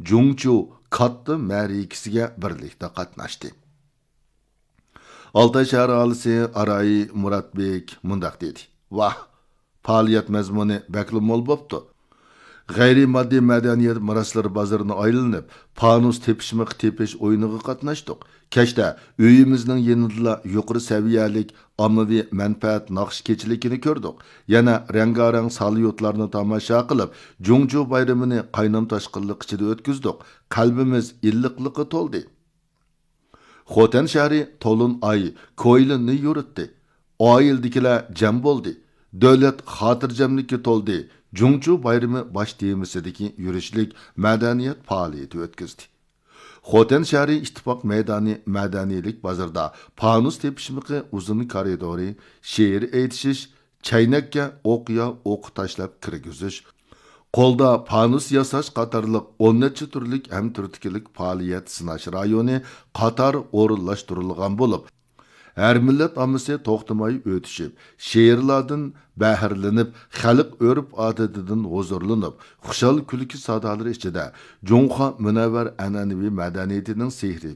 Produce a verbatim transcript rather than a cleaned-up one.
جۇڭچۇ كاتتا مەرىكىسىگە بىرلىكتە قاتناشتى. ئالتاي شەھەر ئاھالىسى ئاراي مۇراتبېك مۇنداق دېدى: ۋاھ، پائالىيەت مەزمۇنى بەكلا مول بوپتۇ. غەيرىي ماددىي مەدەنىيەت مىراسلىرى بازىرىنى ئايلىنىپ، پانۇس تېپىشمىقى تېپىش ئويۇنىغا قاتناشتۇق. كەچتە ئۆيىمىزنىڭ يېنىدىلا يۇقىرى سەۋىيەلىك ئاممىۋى مەنپەئەت ناخشا كېچىلىكىنى كۆردۇق. يەنە رەڭگارەڭ ساليۇتلارنى تاماشا قىلىپ، جۇڭچۇ بايرىمىنى قاينام تاشقىنلىق ئىچىدە ئۆتكۈزدۇق. قەلبىمىز ئىللىقلىققا تولدى. خوتەن شەھىرى تولۇن ئاي كويلىننى يورۇتتى. ئائىلىدىكىلەر جەم بولدى. دۆلەت خاتىرجەملىككە تولدى. جۇڭچۇ بايرىمى باش تېمىسىدىكى يۈرۈشلۈك مەدەنىيەت پائالىيىتى ئۆتكۈزدى. خوتەن شەھىرى ئىتتىپاق مەيدانى مەدەنىيلىك بازىرىدا پانۇس تېپىشمىقى ئۇزۇن كارىدورى، شېئىر ئېيتىشىش، چەينەككە ئوق يا ئوقا تاشلاپ كىرگۈزۈش، قولدا پانۇس ياساش قاتارلىق ئون نەچچە تۈرلۈك ھەم تۈرتكىلىك پائالىيەت سىناش رايونى قاتار ئورۇنلاشتۇرۇلغان بولۇپ، ھەر مىللەت ئاممىسى توختىماي ئۆتۈشۈپ، شېئىرلاردىن بەھرىلىنىپ، خەلق ئۆرپ-ئادىتىدىن ھۇزۇرلىنىپ، خۇشال كۈلكە سادالىرى ئىچىدە جۇڭخۇا مۇنەۋۋەر ئەنئەنىۋى مەدەنىيىتىنىڭ سېھرىي